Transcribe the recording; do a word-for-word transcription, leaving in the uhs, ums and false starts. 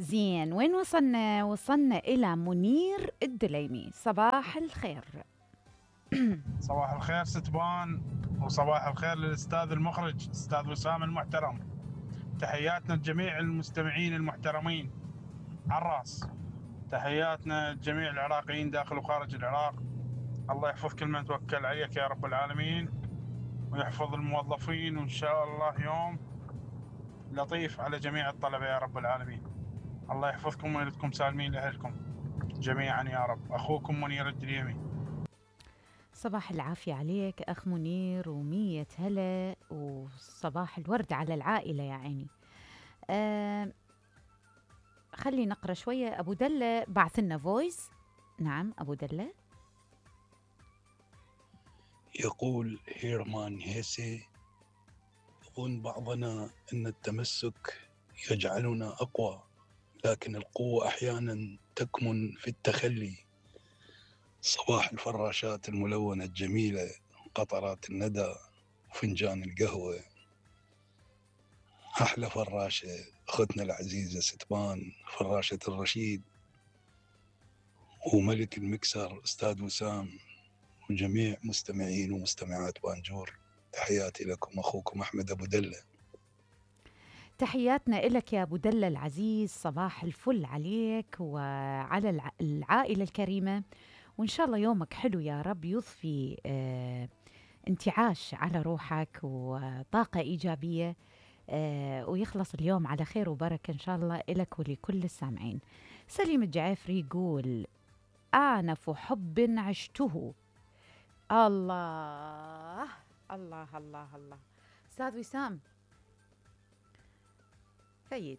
زين، وين وصلنا؟ وصلنا إلى منير الدليمي. صباح الخير. صباح الخير ستبان، وصباح الخير للأستاذ المخرج أستاذ وسام المحترم. تحياتنا لجميع المستمعين المحترمين على الراس. تحياتنا لجميع العراقيين داخل وخارج العراق. الله يحفظ كل من توكل عليك يا رب العالمين، ويحفظ الموظفين، وإن شاء الله يوم لطيف على جميع الطلبة يا رب العالمين. الله يحفظكم ويردكم سالمين لأهلكم جميعا يا رب. أخوكم منير الدليمي. صباح العافية عليك أخ منير، ومية هلا، وصباح الورد على العائلة يا عيني. أه خلي نقرأ شوية. أبو دلة بعث لنا فويس. نعم أبو دلة يقول هيرمان هيسي: يظن بعضنا أن التمسك يجعلنا أقوى، لكن القوة أحيانا تكمن في التخلي. صباح الفراشات الملونة الجميلة، قطرات الندى وفنجان القهوة. أحلى فراشة أختنا العزيزة ستبان، فراشة الرشيد، وملك المكسر أستاذ وسام، وجميع مستمعين ومستمعات بانجور. تحياتي لكم، أخوكم أحمد أبو دلة. تحياتنا إلك يا أبو دلة العزيز. صباح الفل عليك وعلى الع... العائلة الكريمة، وإن شاء الله يومك حلو يا رب، يضفي آه انتعاش على روحك وطاقة إيجابية، آه ويخلص اليوم على خير وبركة إن شاء الله إلك ولكل السامعين. سليم الجعفري يقول: آنف حب عشته. الله الله الله الله. أستاذ وسام، فيد